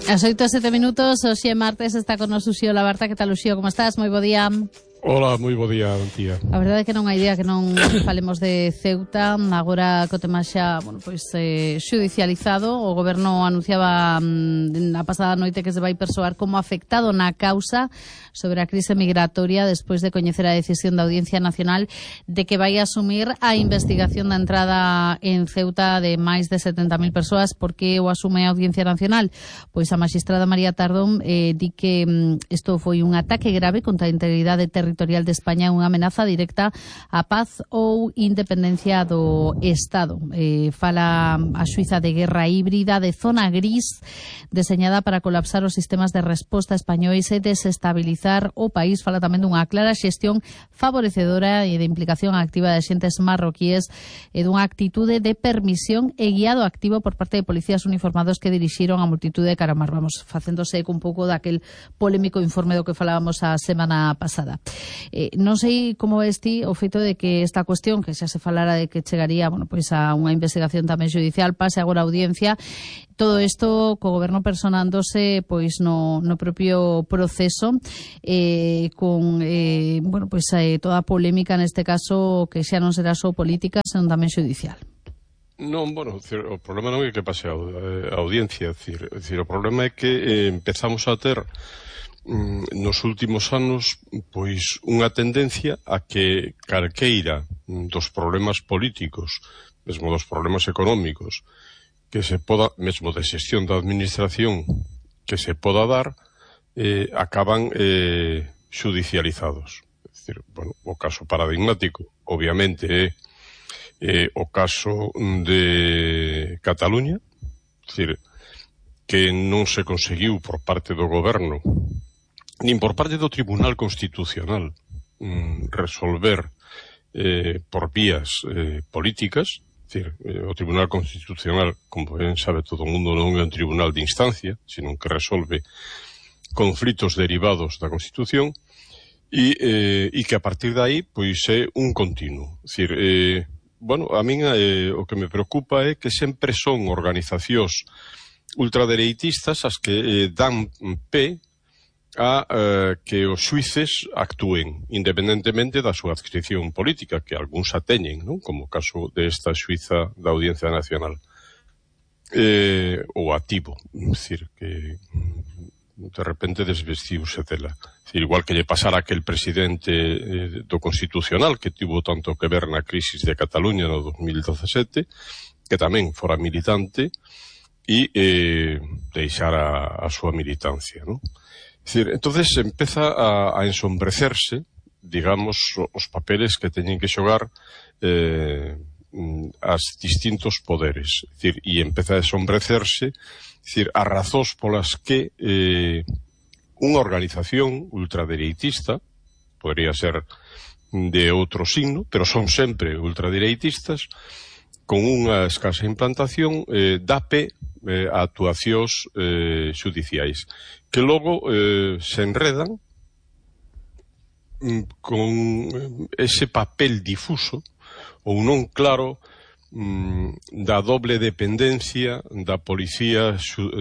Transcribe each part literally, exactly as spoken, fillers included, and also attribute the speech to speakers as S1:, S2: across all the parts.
S1: As oito e sete minutos, hoxe é martes, está con nos Uxío Labarta. Que tal, Uxío, como estás? Moi bo día.
S2: Hola, moi bo día, Antía.
S1: A verdade é que non hai día que non falemos de Ceuta. Agora co tema xa, bueno, pois eh, xudicializado, o goberno anunciaba mm, a pasada noite que se vai persoar como afectado na causa sobre a crise migratoria despois de coñecer a decisión da Audiencia Nacional de que vai asumir a investigación da entrada en Ceuta de máis de setenta mil persoas. Por que o asume a Audiencia Nacional? Pois a magistrada María Tardón eh, di que mm, isto foi un ataque grave contra a integridade territorial de España, unha amenaza directa á paz ou independencia do Estado. Eh, fala a xuíza de guerra híbrida de zona gris deseñada para colapsar os sistemas de resposta españois e desestabilizar o país. Fala tamén dunha clara xestión favorecedora e de implicación activa de xentes marroquíes e dunha actitude de permisión e guiado activo por parte de policías uniformados que dirixiron a multitude de Caramar. Vamos, facéndose eco un pouco daquel polémico informe do que falábamos a semana pasada. Eh, non sei como esti o feito de que esta cuestión, que xa se falara de que chegaría, bueno, pois a unha investigación tamén judicial, pase agora a audiencia, todo isto co goberno personándose pois no, no propio proceso, eh, con eh, bueno, pois eh, toda a polémica neste caso que xa non será só política, senón tamén judicial.
S2: Non, bueno, o problema non é que pase a audiencia, é dicir, o problema é que eh, empezamos a ter nos últimos anos pois unha tendencia a que calqueira dos problemas políticos, mesmo dos problemas económicos que se poda, mesmo de xestión da administración que se poda dar, eh, acaban eh, judicializados. É dicir, bueno, o caso paradigmático obviamente é eh, o caso de Cataluña, é dicir, que non se conseguiu por parte do goberno nin por parte do Tribunal Constitucional mm, resolver eh, por vías eh, políticas. É dicir, eh, o Tribunal Constitucional, como ben sabe todo o mundo, non é un tribunal de instancia, sino que resolve conflitos derivados da Constitución e, eh, e que a partir de aí pois é un continuo. É dicir, eh, bueno, a min eh, o que me preocupa é que sempre son organizacións ultradereitistas as que eh, dan pé a eh, que os xuíces actúen independentemente da súa adscripción política, que algúns a teñen, non? Como o caso desta xuíza da Audiencia Nacional, eh, ou ativo, é dicir, que de repente desvestiuse dela. É dicir, igual que lle pasara aquel presidente eh, do Constitucional que tivo tanto que ver na crisis de Cataluña no dos mil dezasete, que tamén fora militante e eh, deixara a súa militancia, non? É dicir, entonces empeza a, a ensombrecerse, digamos, os papeles que teñen que xogar eh, as distintos poderes. É dicir, e empeza a ensombrecerse, é dicir, as razóns polas que eh, unha organización ultradereitista, podría ser de outro signo, pero son sempre ultradereitistas, con unha escasa implantación, eh, dá pé eh, a actuacións eh, judiciais, que logo eh, se enredan mm, con ese papel difuso ou non claro mm, da doble dependencia da policía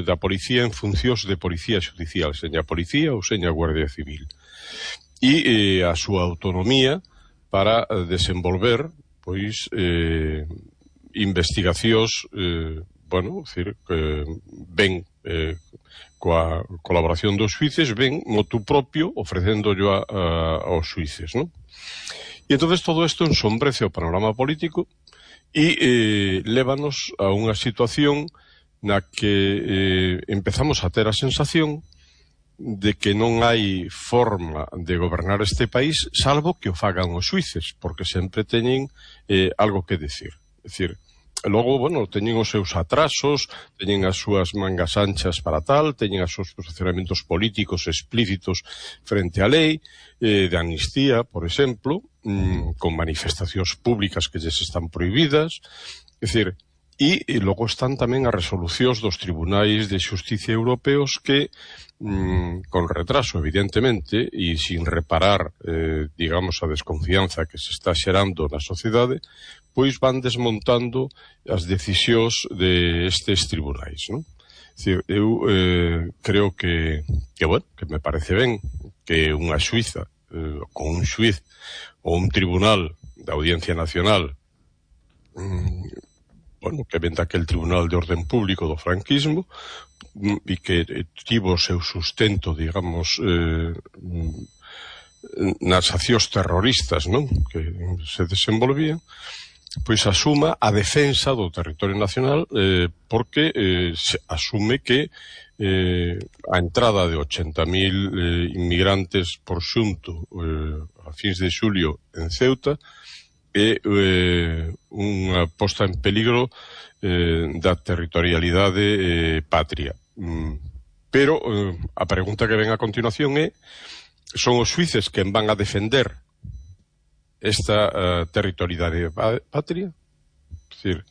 S2: da policía en funcións de policía judicial, seña policía ou seña Guardia Civil, e eh, a súa autonomía para desenvolver pois eh, investigacións eh, bueno, decir, que ven eh, coa colaboración dos xuíces, ven motu propio ofrecéndollo a, a, aos xuíces, non? E entonces todo isto ensombrece o panorama político e eh, lévanos a unha situación na que eh, empezamos a ter a sensación de que non hai forma de gobernar este país salvo que o fagan os xuíces, porque sempre teñen eh, algo que decir. É dicir, logo, bueno, teñen os seus atrasos, teñen as súas mangas anchas para tal, teñen os seus posicionamentos políticos explícitos frente á lei, eh, de amnistía, por exemplo, mmm, con manifestacións públicas que lles están prohibidas. É dicir, e, e logo están tamén as resolucións dos tribunais de xusticia europeos que, mmm, con retraso, evidentemente, e sin reparar, eh, digamos, a desconfianza que se está xerando na sociedade, pois van desmontando as decisións de estes tribunais, non? Decir, eu eh, creo que, que, bueno, que me parece ben que unha xuiza eh, con un xuiz ou un tribunal da Audiencia Nacional mm, bueno, que ven daquel Tribunal de Orden Público do franquismo mm, e que eh, tivo o seu sustento, digamos, eh, nas accións terroristas, non? Que se desenvolvían, pois asuma a defensa do territorio nacional eh, porque eh, se asume que eh, a entrada de ochenta mil eh, inmigrantes por xunto eh, a fins de xulio en Ceuta é eh, unha posta en peligro eh, da territorialidade eh, patria. Mm, pero eh, a pregunta que ven a continuación é: son os xuíces quen van a defender esta uh, territorialidade patria? É dicir,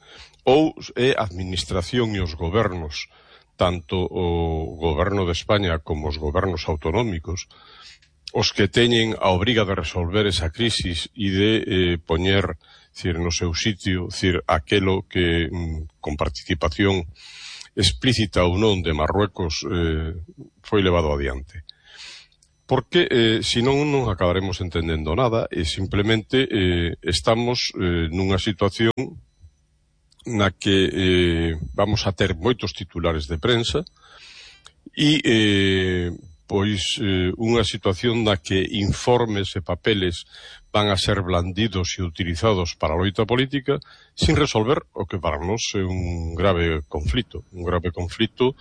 S2: ou é a administración e os gobernos, tanto o goberno de España como os gobernos autonómicos, os que teñen a obriga de resolver esa crisis e de eh, poñer, dicir, no seu sitio, dicir, aquelo que mm, con participación explícita ou non de Marruecos eh, foi levado adiante. Porque, eh, senón, non acabaremos entendendo nada e simplemente eh, estamos eh, nunha situación na que eh, vamos a ter moitos titulares de prensa e, eh, pois, eh, unha situación na que informes e papeles van a ser blandidos e utilizados para a loita política sin resolver o que para nós é un grave conflito, un grave conflito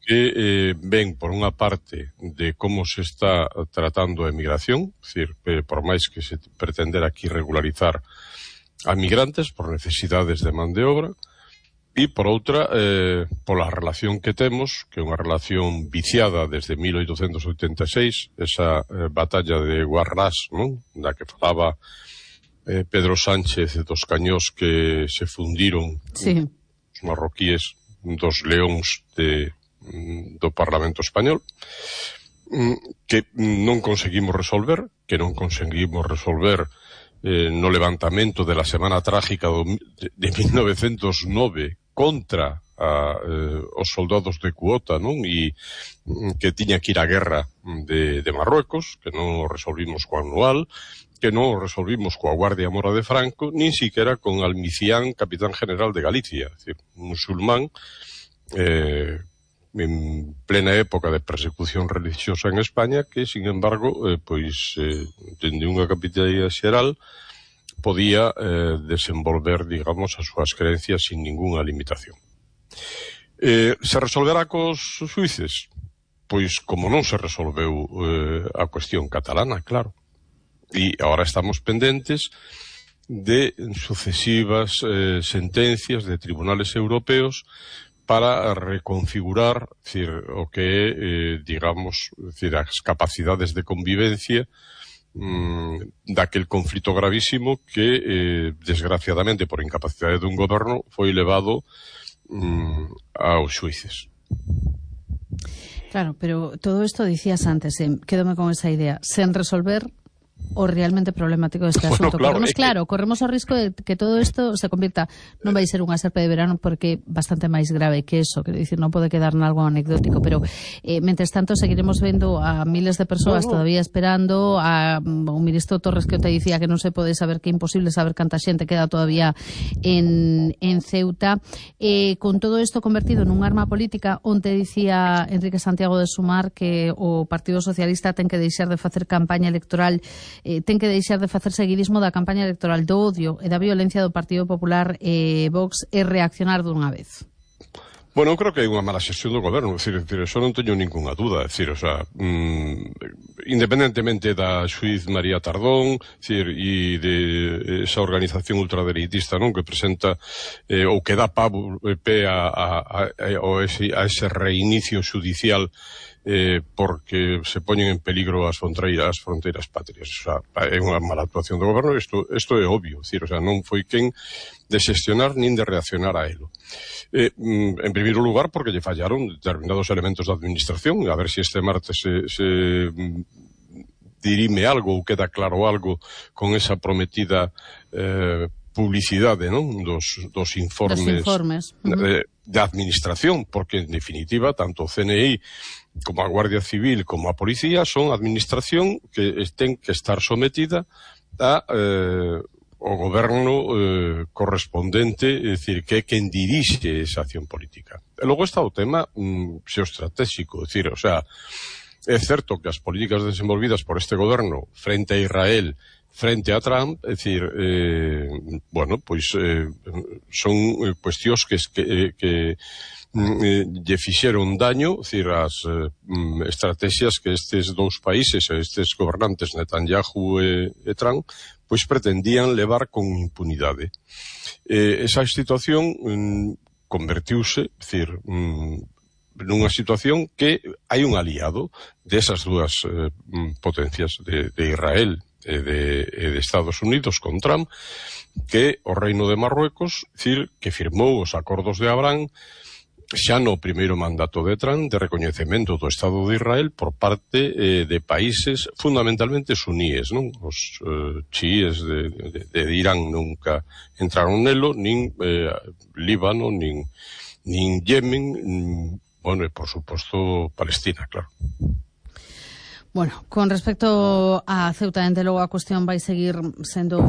S2: que eh, ven por unha parte de como se está tratando a emigración, é dicir, eh, por máis que se pretender aquí regularizar a migrantes por necesidades de man de obra, e por outra, eh, pola relación que temos, que é unha relación viciada desde mil oitocentos oitenta e seis, esa eh, batalla de Guarrás, non? Da que falaba eh, Pedro Sánchez dos cañós que se fundiron
S1: sí.
S2: os marroquíes dos leóns de do Parlamento Español, que non conseguimos resolver, que non conseguimos resolver eh, no levantamento de la Semana Trágica de, de mil novecentos nove contra a, eh, os soldados de cuota, non? E que tiña que ir á guerra de, de Marruecos, que non o resolvimos co anual, que non o resolvimos coa Guardia Mora de Franco, nin siquiera con Almicián, capitán general de Galicia, é dicir, musulmán, eh, en plena época de persecución religiosa en España, que, sin embargo, eh, pois, eh, dende unha capitanía xeral, podía eh, desenvolver, digamos, as súas creencias sin ningunha limitación. Eh, se resolverá cos xuíces? Pois, como non se resolveu eh, a cuestión catalana, claro. E agora estamos pendentes de sucesivas eh, sentencias de tribunales europeos para reconfigurar, decir, o que é, eh, digamos, decir, as capacidades de convivencia mmm, daquel conflito gravísimo que, eh, desgraciadamente, por incapacidade dun goberno, foi levado mmm, aos xuíces.
S1: Claro, pero todo isto dicías antes, eh, quédome con esa idea, sen resolver o realmente problemático deste
S2: bueno,
S1: asunto.
S2: Claro,
S1: corremos,
S2: que...
S1: claro, corremos o risco de que todo isto se convirta, non vai ser unha serpe de verano porque é bastante máis grave que eso, quero dicir, non pode quedar nalgo anecdótico, pero eh, mentres tanto seguiremos vendo a miles de persoas no, no. todavía esperando, a um, o ministro Torres que te dicía que non se pode saber, que é imposible saber canta xente queda todavía en, en Ceuta, eh, con todo isto convertido nun arma política, onte dicía Enrique Santiago de Sumar que o Partido Socialista ten que deixar de facer campaña electoral, Eh, ten que deixar de facer seguidismo da campaña electoral do odio e da violencia do Partido Popular e eh, Vox e reaccionar dunha vez.
S2: Bueno, eu creo que hai unha mala xestión do goberno, é dicir, eso non teño ninguna dúda, é dicir, o sea, mmm, independentemente da xuiz María Tardón, é dicir, e de esa organización ultradereitista, non, que presenta eh, ou que dá pavo, eh, pé a, a, a, a, ese, a ese reinicio xudicial Eh, porque se poñen en peligro as fronteiras, as fronteiras patrias. O sea, é unha mala actuación do goberno, isto, isto é obvio, decir, o sea, non foi quen de xestionar nin de reaccionar a elo. Eh, en primeiro lugar, porque lle fallaron determinados elementos da administración, a ver se si este martes se, se dirime algo ou queda claro algo con esa prometida eh, publicidade, non? Dos, dos informes,
S1: dos informes. Uh-huh.
S2: de, de administración, porque en definitiva tanto o C N I como a Guardia Civil como a Policía son administración que ten que estar sometida a eh, o goberno eh, correspondente, é dicir, que é quen dirixe esa acción política. E logo está o tema mm, xeoestratégico, é dicir, o sea, é certo que as políticas desenvolvidas por este goberno frente a Israel, frente a Trump, é dicir, eh, bueno, pois eh, son eh, cuestións que, que, que eh, lle fixeron daño, é dicir, as eh, estrategias que estes dous países, estes gobernantes Netanyahu e, e Trump, pois pretendían levar con impunidade. Eh, esa situación mm, convertiuse, é dicir, mm, nunha situación que hai un aliado desas dúas eh, potencias de, de Israel e de, e de Estados Unidos con Trump, que o Reino de Marruecos, decir, que firmou os acordos de Abraham xa no primeiro mandato de Trump de recoñecemento do Estado de Israel por parte eh, de países fundamentalmente suníes, non? Os eh, chiíes de, de, de Irán nunca entraron nelo, nin eh, Líbano, nin, nin Yemen, nin, bueno, e por suposto Palestina, claro.
S1: Bueno, con respecto a Ceuta, dende logo a cuestión vai seguir sendo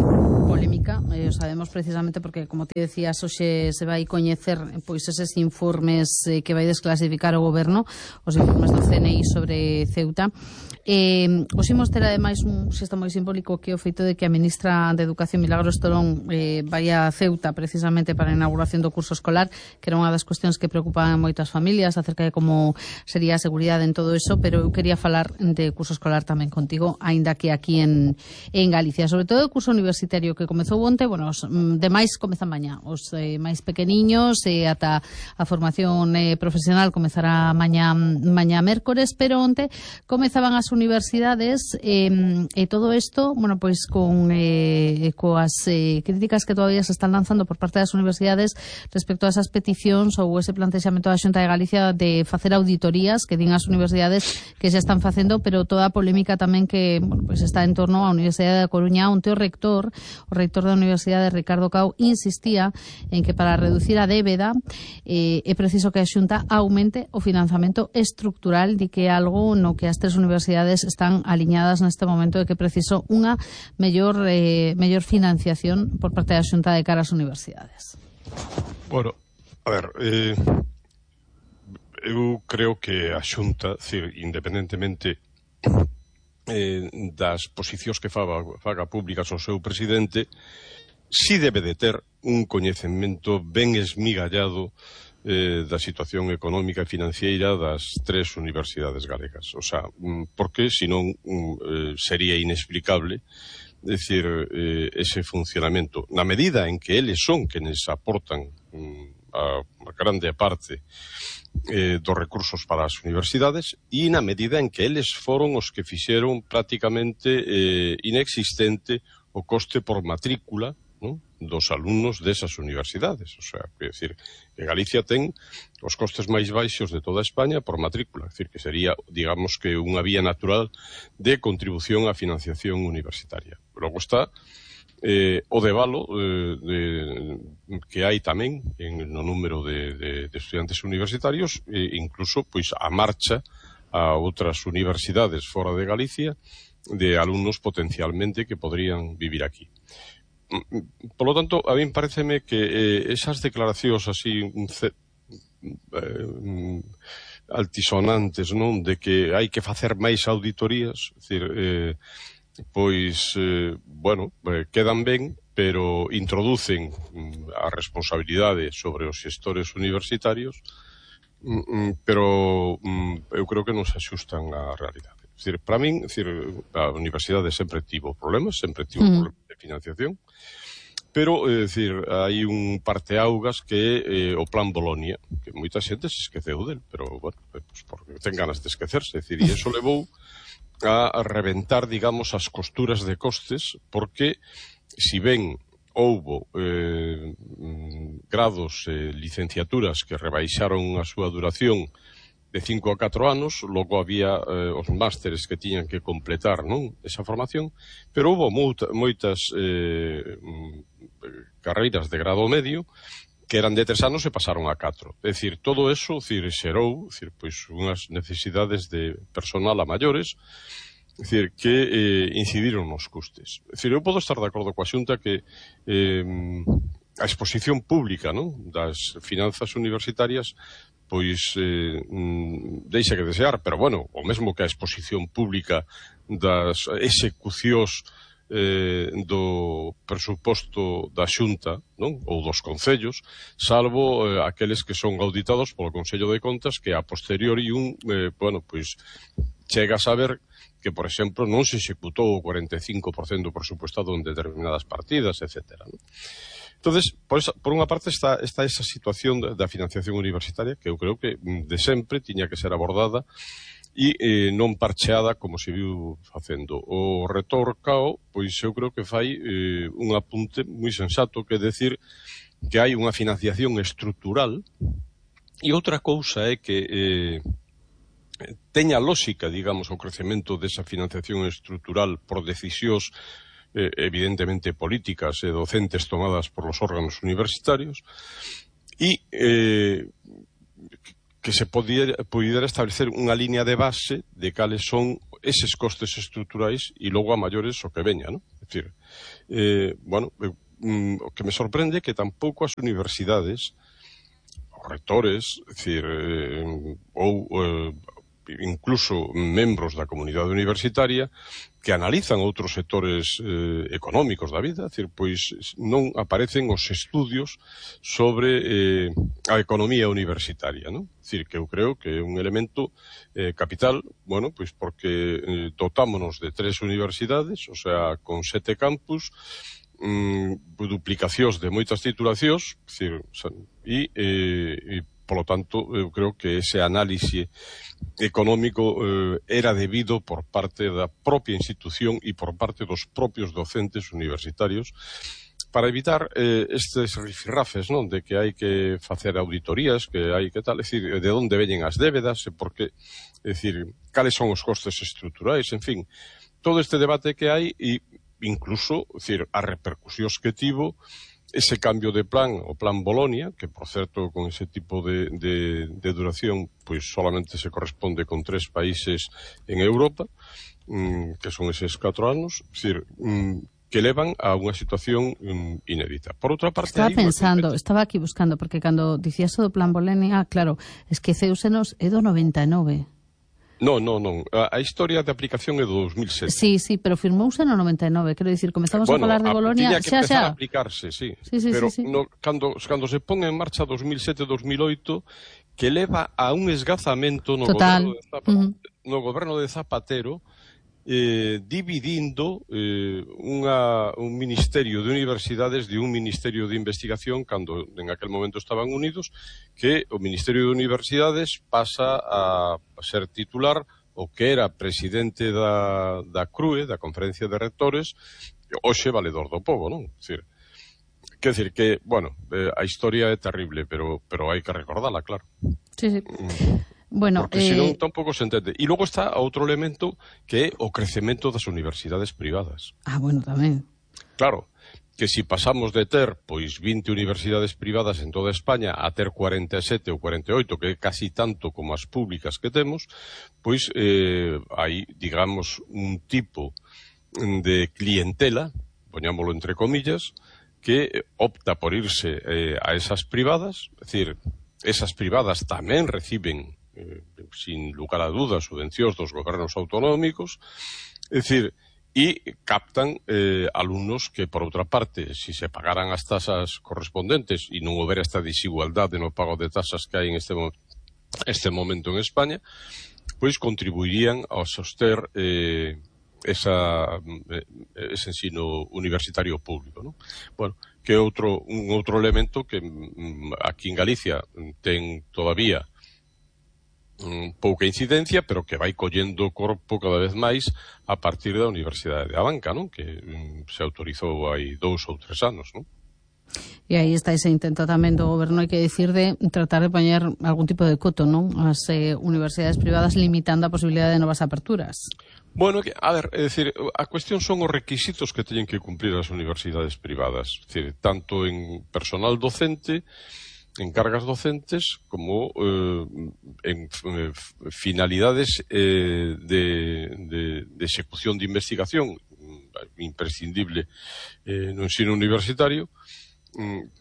S1: polémica, eh, o sabemos precisamente porque, como te decías, hoxe se vai coñecer pois eses informes eh, que vai desclasificar o goberno, os informes do C N I sobre Ceuta. Eh, os imos ter ademais un xesto moi simbólico que é o feito de que a ministra de Educación, Milagros Torón, eh, vai a Ceuta precisamente para a inauguración do curso escolar, que era unha das cuestións que preocupaban moitas familias acerca de como sería a seguridade en todo eso, pero eu quería falar de curso escolar tamén contigo, aínda que aquí en, en Galicia, sobre todo o curso universitario que comezou onte. Bueno, os demais comezan mañá, os eh, máis pequeniños e eh, ata a formación eh, profesional comezará mañá, mañá mércores, pero onte comezaban as universidades e, e todo isto, bueno, pois con eh, coas eh, críticas que todavía se están lanzando por parte das universidades respecto a esas peticións ou ese plantexamento da Xunta de Galicia de facer auditorías que din as universidades que xa están facendo, pero toda a polémica tamén que, bueno, pois está en torno á Universidade da Coruña, onde o rector, o rector da Universidade, Ricardo Cao, insistía en que para reducir a débeda eh, é preciso que a Xunta aumente o financiamento estructural, di que é algo no que as tres universidades están aliñadas neste momento de que preciso unha mellor eh, mellor financiación por parte da Xunta de cara ás universidades.
S2: Bueno, a ver, eh, eu creo que a Xunta, decir, independentemente eh, das posicións que faga, faga públicas o seu presidente, si debe de ter un coñecemento ben esmigallado eh, da situación económica e financiera das tres universidades galegas. O sea, porque senón eh, sería inexplicable, decir, eh, ese funcionamento. Na medida en que eles son quenes aportan mm, a, a grande parte eh, dos recursos para as universidades e na medida en que eles foron os que fixeron prácticamente eh, inexistente o coste por matrícula, ¿no?, dos alumnos desas universidades. O sea, que decir, que Galicia ten os costes máis baixos de toda España por matrícula, é dicir, que sería, digamos, que unha vía natural de contribución á financiación universitaria. Logo está eh, o debalo eh, de, que hai tamén en, no número de, de, de estudiantes universitarios, e incluso pois a marcha a outras universidades fora de Galicia de alumnos potencialmente que podrían vivir aquí. Por lo tanto, a mí pareceme que eh, esas declaracións así eh, altisonantes, non, de que hai que facer máis auditorías, é dicir, eh, pois, eh, bueno, eh, quedan ben, pero introducen a responsabilidade sobre os xestores universitarios, pero eu creo que non se axustan á realidade. É dicir, para min, é dicir, a universidade sempre tivo problemas, sempre tivo mm. problemas de financiación, pero, é dicir, hai un parteaugas que é eh, o Plan Bolonia, que moita xente se esqueceu del, pero, bueno, pues, porque ten ganas de esquecerse, é dicir, e iso levou a reventar, digamos, as costuras de costes, porque, si ben houbo eh, grados e eh, licenciaturas que rebaixaron a súa duración de cinco a catro anos, logo había eh, os másteres que tiñan que completar, non, esa formación, pero houbo moita, moitas eh, carreiras de grado medio que eran de tres anos e pasaron a catro. É dicir, todo eso, dicir, xerou, dicir, pois, unhas necesidades de personal a maiores, é dicir, que eh, incidiron nos custes. É dicir, eu podo estar de acordo coa Xunta que eh, a exposición pública, non, das finanzas universitarias pois eh, deixa que desear, pero bueno, o mesmo que a exposición pública das execucións eh, do presuposto da Xunta, non? Ou dos concellos, salvo eh, aqueles que son auditados polo Consello de Contas, que a posteriori un, eh, bueno, pois chega a saber que, por exemplo, non se executou o cuarenta e cinco por cento presupuestado en determinadas partidas, etcétera, non? Entonces, por, esa, por unha parte está, está esa situación da, da financiación universitaria que eu creo que de sempre tiña que ser abordada e eh, non parcheada como se viu facendo. O retor Cao, pois eu creo que fai eh, un apunte moi sensato, que é decir que hai unha financiación estrutural, e outra cousa é que eh, teña lógica, digamos, o crecemento desa financiación estrutural por decisións eh, evidentemente políticas e docentes tomadas por los órganos universitarios, e eh, que se pudiera, pudiera establecer unha línea de base de cales son eses costes estruturais e logo a maiores o que veña, non? É dicir, eh, bueno, eh, o que me sorprende é que tampouco as universidades, os rectores, é dicir, eh, ou eh, incluso membros da comunidade universitaria que analizan outros sectores eh, económicos da vida, é dicir, pois non aparecen os estudios sobre eh, a economía universitaria, non? É dicir, que eu creo que é un elemento eh, capital, bueno, pois porque eh, dotámonos de tres universidades, o sea, con sete campus, mm, duplicacións de moitas titulacións, é dicir, e, eh, e polo tanto, eu creo que ese análise económico eh, era debido por parte da propia institución e por parte dos propios docentes universitarios para evitar eh, estes rifirrafes, non? De que hai que facer auditorías, que hai que tal, é dicir, de onde veñen as débedas, e por que, é dicir, cales son os costes estruturais, en fin, todo este debate que hai e incluso, é dicir, as repercusións que tivo ese cambio de plan, o plan Bolonia, que, por certo, con ese tipo de, de, de duración, pois solamente se corresponde con tres países en Europa, mmm, que son eses catro anos, é dicir, mmm, que levan a unha situación mmm, inédita. Por outra parte...
S1: Estaba pensando, una... estaba aquí buscando, porque cando dicías o do plan Bolonia, ah, claro, es que Céusenos é do noventa e nove.
S2: Non, non, non. A, a historia de aplicación é do dos mil sete.
S1: Sí, sí, pero firmouse no noventa e nove. Quero dicir, comezamos
S2: bueno,
S1: a falar de Bolonia,
S2: xa, xa.
S1: Tiña que empezar
S2: a aplicarse, sí.
S1: sí, sí
S2: pero
S1: sí, sí.
S2: No, cando, cando se pon en marcha dos mil sete dos mil oito, que leva a un esgazamento no
S1: Total.
S2: goberno de Zapatero,
S1: uh-huh.
S2: no goberno de Zapatero, eh, dividindo eh, unha, un ministerio de universidades de un ministerio de investigación, cando en aquel momento estaban unidos, que o Ministerio de Universidades pasa a ser titular o que era presidente da, da C R U E, da Conferencia de Rectores, hoxe valedor do pobo, non? Decir, quer decir que, bueno, eh, a historia é terrible, pero pero hai que recordala, claro.
S1: Sí, sí.
S2: Mm.
S1: Bueno,
S2: porque
S1: eh...
S2: senón tampouco se entende. E logo está outro elemento que é o crecemento das universidades privadas.
S1: Ah, bueno, tamén.
S2: Claro, que si pasamos de ter pois vinte universidades privadas en toda España a ter cuarenta e sete ou cuarenta e oito, que é casi tanto como as públicas que temos, pois eh, hai, digamos, un tipo de clientela, poñámoslo entre comillas, que opta por irse eh, a esas privadas, é dicir, esas privadas tamén reciben, eh, sin lugar a dudas, subvencións dos gobernos autonómicos, é dicir, e captan eh, alumnos que, por outra parte, si se pagaran as tasas correspondentes e non houbera esta desigualdade no pago de tasas que hai en este, mo este momento en España, pois contribuirían a soster eh, esa, eh, ese ensino universitario público, non? Bueno, que é outro, un outro elemento que mm, aquí en Galicia ten todavía pouca incidencia, pero que vai collendo corpo cada vez máis a partir da Universidade de Abanca, non? Que mm, se autorizou hai dous ou tres anos, non?
S1: E aí está ese intento tamén do goberno, hai que dicir, de tratar de poñer algún tipo de coto, non? As eh, universidades privadas limitando a posibilidade de novas aperturas.
S2: Bueno, a ver, é dicir, a cuestión son os requisitos que teñen que cumplir as universidades privadas, é dicir, tanto en personal docente, en cargas docentes, como eh, en eh, finalidades eh, de, de, de execución de investigación imprescindible eh, no ensino universitario,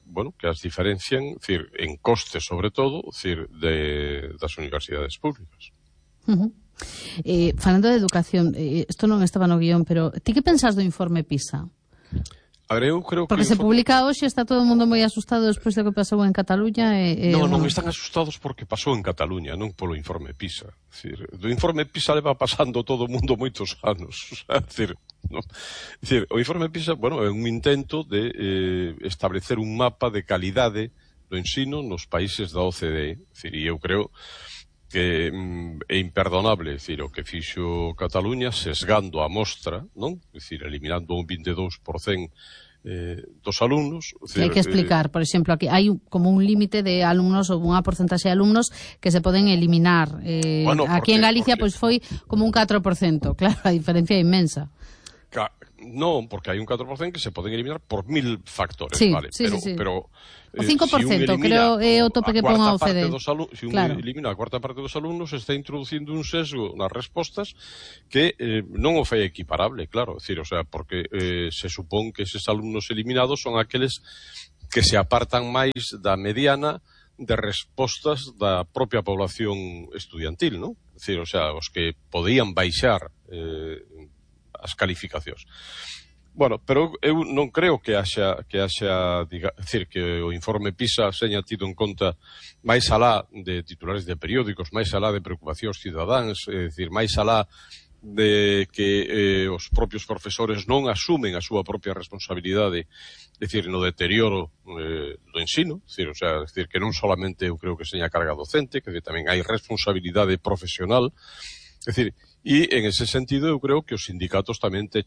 S2: bueno, que as diferencian, decir, en costes sobre todo, decir, de, das universidades públicas.
S1: Uh -huh. eh, falando de educación, eh, isto non estaba no guión, pero ti que pensas do informe PISA?
S2: A ver, eu creo
S1: porque
S2: que
S1: se informe... publica hoxe, está todo o mundo moi asustado despois do que pasou en Cataluña. E, e,
S2: non, non,
S1: bueno.
S2: están asustados porque pasou en Cataluña, non polo informe PISA. Decir, do informe PISA leva pasando todo o mundo moitos anos. O sea, decir, no. Decir, o informe PISA, bueno, é un intento de eh, establecer un mapa de calidade do ensino nos países da O C D E. Decir, e eu creo que mm, é imperdonable, decir, o que fixo Cataluña sesgando a mostra, non? Decir, eliminando un vinte e dous por cento Eh, dos alumnos.
S1: Decir, hai que explicar, por exemplo, aquí hai como un límite de alumnos ou unha porcentaxe de alumnos que se poden eliminar. Eh,
S2: bueno,
S1: aquí
S2: porque,
S1: en Galicia
S2: porque...
S1: pois foi como un catro por cento, claro, a diferencia é inmensa.
S2: Non, porque hai un catro por cento que se poden eliminar por mil factores,
S1: sí,
S2: vale,
S1: sí,
S2: pero,
S1: sí, sí.
S2: pero
S1: o cinco por cento, si creo é o tope que pon a O C D E.
S2: Si un claro. elimina a cuarta parte dos alumnos, está introducindo un sesgo nas respostas que eh, non o fai equiparable, claro, decir, o sea, porque eh, se supón que eses alumnos eliminados son aqueles que se apartan máis da mediana de respostas da propia población estudiantil, non? Decir, o sea, os que podían baixar eh, as calificacións. Bueno, pero eu non creo que haxa, que haxa, diga, decir, que o informe PISA seña tido en conta máis alá de titulares de periódicos, máis alá de preocupacións cidadáns, é dicir, máis alá de que eh, os propios profesores non asumen a súa propia responsabilidade, é dicir, no deterioro eh, do ensino, é dicir, o sea, é dicir, que non solamente eu creo que seña carga docente, que tamén hai responsabilidade profesional, é dicir, e en ese sentido eu creo que os sindicatos tamén te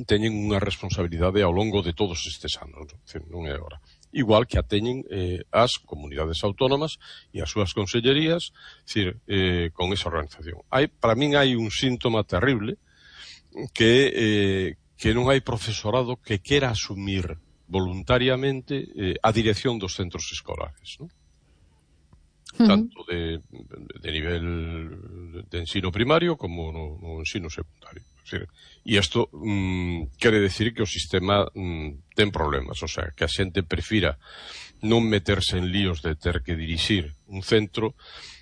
S2: teñen unha responsabilidade ao longo de todos estes anos, non é agora. Igual que a teñen eh, as comunidades autónomas e as súas consellerías, decir, eh, con esa organización. Hai, para min hai un síntoma terrible que, eh, que non hai profesorado que quera asumir voluntariamente eh, a dirección dos centros escolares, non? Tanto de, de nivel de ensino primario como no, no ensino secundario. E isto mm, quere decir que o sistema mm, ten problemas, o sea, que a xente prefira non meterse en líos de ter que dirixir un centro